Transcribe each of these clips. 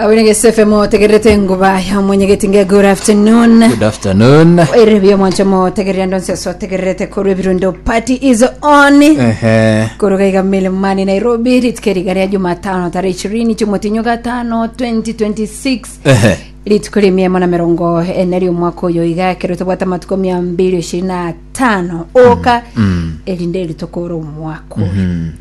Abone gesefe motegererete enguba ya mwenyegeti nge good afternoon. Good afternoon. Ere bia mwanche motegerera ndonse ase otegererete korwa ebirundo party is on. Ehe. Koruga iga Milimani Nairobi rituko eriga ria Jumatano tarehe ishirini chimotinyo gatano 2026 Ehe. rituko ria mia emo na mirongo ene ri'omwaka oyo iga ekero tobwate amatuko mia mbili ishirini na tano oka erinde rituko omwaka oyo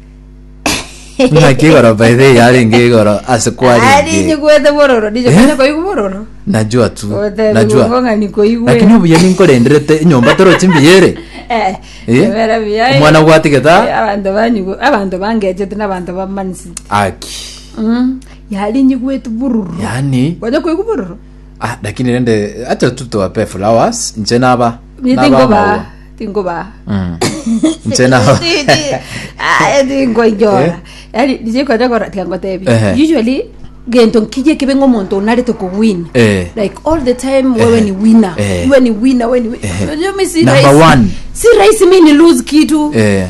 Ng'aki igoro by the way yarenge igoro ase Ari kwarenge. nyigwete bororo nije Eh? konya koigwa bororo Najua tu. Otebi Najua. ng'o nikoigwe Lakini obuya ninkorenderete enyomba torochi mbiyere. Eh, Eh? ebere buya. Omwana gwatigeta? Eh, abanto banyigwe abanto bangechete n'abanto bamanisite Aki. Mm, yari nyigwete bororo Yani konya koigwa bororo ah lakini rende acha tu tuwape flowers nche naba. Ni naba tingoba amaua. tingoba Mm. Nche naba. tingoinyora Eh? yani nije konya kora tikangotebi Ehe. usually gento nkije kibe ng'omonto onarete kuwin Eh. like all the time wewe Ehe. ni winner Eh. wewe ni winner wewe ni wi- Ehe. Unajua mi si Number rahisi- one. si rahisi mi ni lose kitu Eh.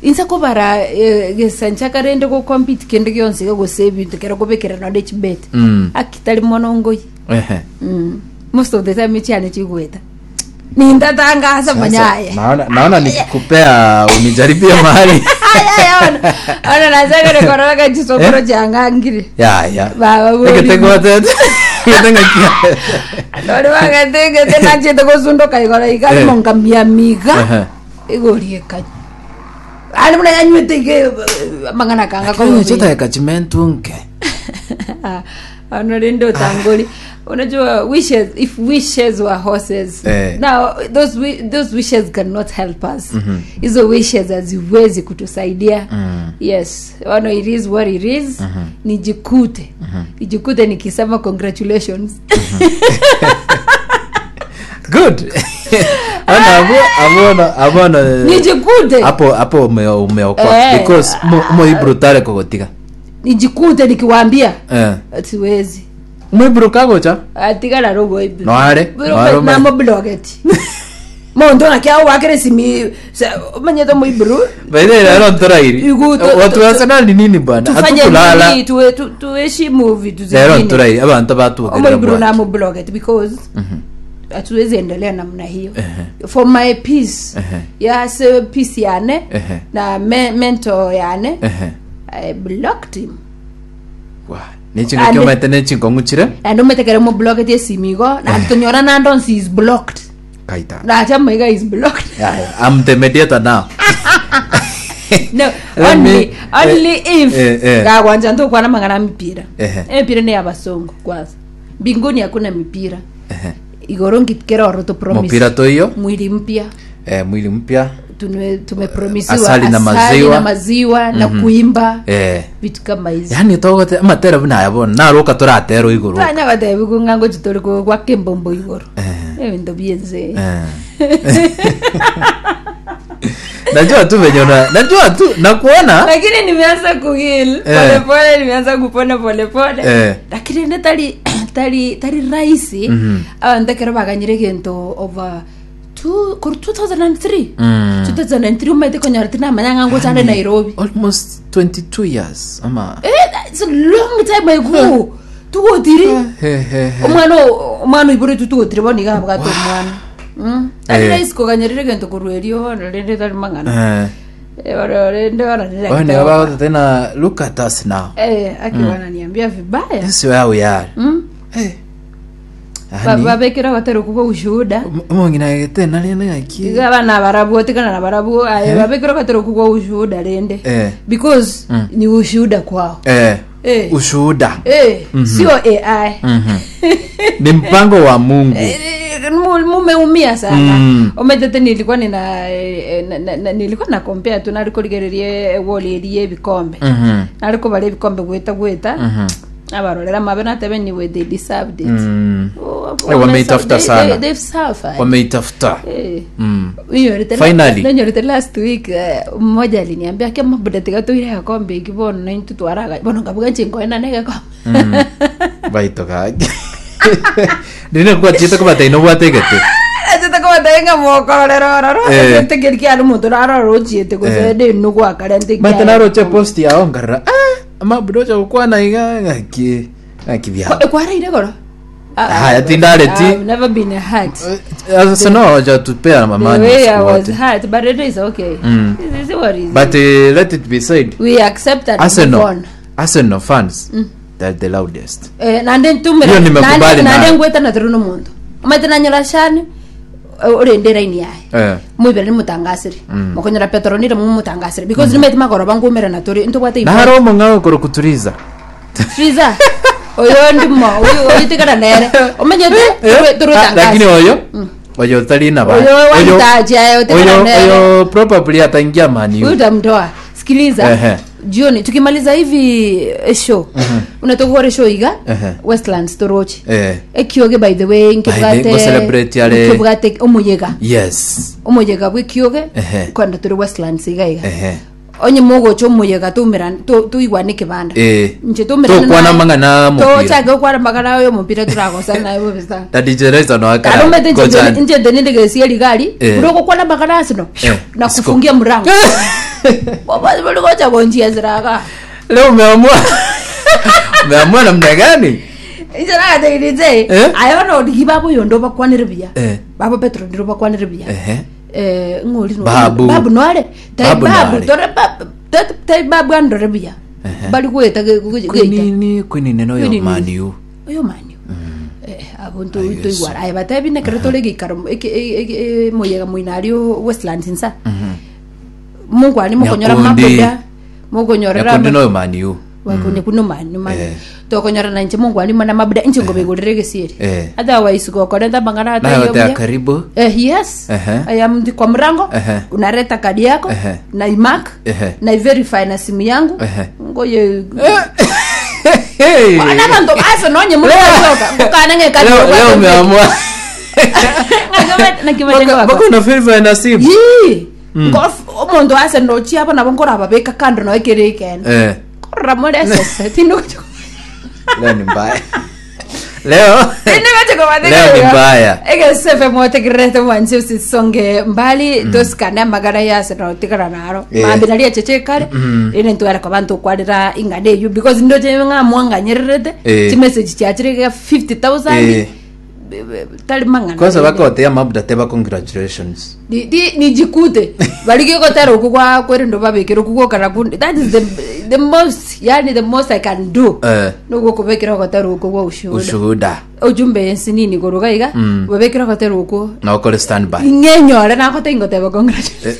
inse kobara eh, gesancha karende gocompete kende gionsi gose ebinto kero kobekera nonde chibet Mm. akitari mono ngoi Ehe. mm. most of the time chiane chigweta nintatangasa Sasa, manyaye naona naona nikikupea unijaribie mahali. ona nachakere korora chisokoro Eh? changangire Ya ya. Baba bori. Eketegote. Eketengakia. nori wagatengete nachete gosundoka igoro Eh. ikarimo miga Ehe. igorieka ani muna yanywete ige mang'ana kanga Lakini chota kachimentunke. ono rende utangoli unajua wishes if wishes were horses Eh. now those, wi- those wishes cannot help us hizo wishes haziwezi kutusaidia Mm. yes ono it is what it is nijikute nijikute nikisema congratulations Good. Ana abo abono abono nijikute hapo hapo ume umeokoa Eh. because mo mo ibrutare kogotiga. nijikute nikiwaambia Eh. siwezi Mo ibruka gocha. atigara rogo Noare. Noare. namoblogeti monto nake awakere simi manyete moibru By the way, leo ntorairi. Igu- tu- Watu tu- wa Arsenal ni nini bwana? tufanye Hatukulala. nini tuwe- tu- tuheshimu vitu Leo zingine ntorairi abantu batuogerera. omoibru namoblogeti because hatuwezi endelea namna hiyo Ehe. for my peace Ehe. yase peace yane Ehe. na me, mental yane Ehe. i blocked him Wa. Nechingo Ande- kiomete nechingo chire. and ometekere moblogeti esimigo na tonyora nandonsi is blocked Kaita. nachamaiga is blocked Yeah, yeah. I'm the mediator now. no Let only me- only eh, if eh, eh. gagwanja ntokwana mang'ana mipira Ehe. emipira ni abasongo kwanza mbinguni hakuna mipira Ehe. igoro ngikeroro to promise Mupira toiyo. mwili mpya Eh, mwili mpya. tume tumepromisiwa Asali na maziwa. na maziwa na kuimba Eh. vitu kama hizi Yani togote amatera buna yabona naroka toratero igoro. tanya batebi kung'ango chitori kwa kembombo igoro Eh. ebinto bienze Eh. Najua tu venye una najua tu nakuona. lakini nimeanza kuheal Eh. polepole nimeanza kupona polepole Eh. lakini ne tari tari tari rahisi Mhm. abantu ekero baganyire gento over two, kor 2003 Mm. 2003 umaete konyora tinamanya ng'a ngochande nairobi Almost 22 years ama. eh, it's a long time ago tugotiri He he he. omwana o- omwana oiboretwe tugotiri bono iga abwate omwana Mm. tari Eh. rahisi koganyerire gento korwa erio bono rende tari mang'ana Eh. Eh, bono rende bono Wewe ni about tena look at us now. Eh, aki wananiambia vibaya This is where we are. mm. Eh. Ba- Yani babekera batari kuba ushuhuda omong'ina tena rende ng'aki. iga abana barabwo tigana na barabwo aye Eh. babekera batari kuba ushuhuda rende Eh. because Mm. ni ushuhuda kwao Eh. Eh. Ushuhuda. eh, sio ai Mhm. Ni mpango wa Mungu. Eh, mu- mumeumia sana Mm. ometete nilikuwa nina eh, na- na- na- nilikuwa na compare tu narikorigererie wall ebikombe Mhm. narikobara ebikombe gweta gweta Mhm. abarorera mabe natebe niwe they deserved it Mm. Oh, Eh, wameitafuta they- sana. they- they've suffered Wameitafuta. Eh. Mm. Ninyorete Finally. ninyorete last week eh, mmoja aliniambia kema buda tiga toire gakombe iki bono naintu twaraga bono ngabuga nche nkoena ne gakombe Baito gaki. Ndine kwa chita kwa taino bwategete. achete kobatenga mokororera ororo Eh. ntekeri kiari omonto narora ochiete gose Eh. ndinu gwakare Mate naroche post yao ngarra. Ah, ama budocha gukwana iga ngaki. Naki biabo. Kwaraire goro? Haya, tindareti. I've never been hurt. Sasa no hajatupea The amani way I siku was wote. hurt, but it is okay. This is what is. But let it be said, we accept and move Arsenal, on. Arsenal fans, they're the loudest. Eh, nande ntumire Hiyo nimekubali nande nayo. ngwetana tiri nomonto omanyete nanyora shani orende eraini yaye Eh. mwibere nimutangasire mokonyora petronire mumutangasire because nimete magoro bangumirana turi ntobwate Na haro omong'ao okoro kuturiza. Triza oyo ndimo oyo tigara nere omenyete Eh, turi ah, lakini oyo oyo tari na ba. Oyo wanitaji, ayo, tigara oyo nere. oyo probably ataingia Man huyu U. utamtoa sikiliza Ehe. jioni tukimaliza hivi eh, show unatoka kore show iga Ehe. Westlands torochi Eh. ekioge by the way By the- nkibwate go celebrate yale- nkibwate omuyega Yes. omuyega bw'ekioge Ehe. kwenda turi Westlands iga iga Ehe. onye mogocha omuyega tumira tuigwane kibanda Eh. nche tumirane Tokwana naye. mang'ana mupira. tochake okwana mang'ana oyo mupira turagosa naye bobisa Na DJ Reza no akara. arumete Kochani. nje ndendegesia ligari Eh. uroko kwana mang'ana asino Eh. na Siko. kufungia mrango bolikocha konjia ziraka Leo umeamua. Umeamua namna gani? injerakategeritse Eh? ayo nodigi babo yondo bakwanire buya Eh. babo petro ndiro bakwanire buya Ehe. eh ng'ori no- Babu. babu noare tai Babu babu noare. tore babu tai babu andore buya Ehe. bali gweta geita Kwinini kwinini no yo Kwinini. Man U. oyo manio eh abo nto Aye, yes. toigwara aye batebi nekero tore geikaro moyega moinario Westlands insa mungwani mukonyora Nyakundi. mabuda mukonyora Nyakundi no yo Man U. wakonye kuno mani mani Eh. tokonyora na nche mungwani mana mabuda inche ngobigurire gesieri Eh. otherwise gokorenta mang'ana Na yote ya karibu. Eh, yes Ehe. I am ndi kwa mrango Ehe. unareta kadi yako Ehe. na imark Ehe. na iverify na simu yangu Ehe. ngoye Hey. ana bantu basa nonye mukachoka ngukana ngekadi Leo leo umeamua. nakimanya Bako na favor na simu. yii omonto ase nochi aba nabo nkorababeka kando noekere ikene Eh. korora more esese tindogocho Leo ni mbaya. Leo. Leo ni mbaya. egesefe motegererete mwansi usisonge mbali tosikane amagara yase notigara naro Eh. mambi nari echeche kare ine ntwara kwa bantu okwarera ing'ana eyo because ndoche ng'amwanganyererete Eh. chimessage chiachire 50000 Eh. tari mang'ana Kwanza bakotea mabuda teba congratulations. Nijikute valigekotera uku kwa kwerendo vavekera ukukokana kundi that is the most yani the most i can do Eh. nogukuvekera kotera uku kwa ushuhuda Ushuhuda. ujumbe ensinini koruga iga vavekera kotera uku Na ukore standby. ing'enyore nakote ingoteba congratulations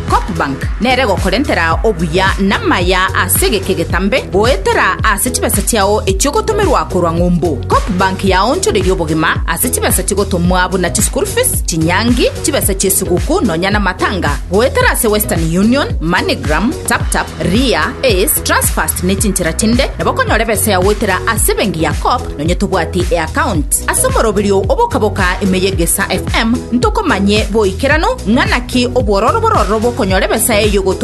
Copbank nere gokorentera obuya namaya ase geke getambe goetera ase chibesa chiao echiogotomerwa korwa ng'umbu Copbank yaonchoreria obogima ase chibesa chigotomwa buna chischool fees chinyangi chibesa chiesuguku nonya na matanga goetera ase Western Union MoneyGram TapTap Ria Ace Transfast ne chinchera chinde nabo okonyora ebesa yagoetera ase ebenki ya Coop nonye tobwati eaccount ase omoroberio obokaboka emeyegesa FM ntokomanye boikerano ng'anaki obwororo bororo bokonyora ebesa eyo gotomwa.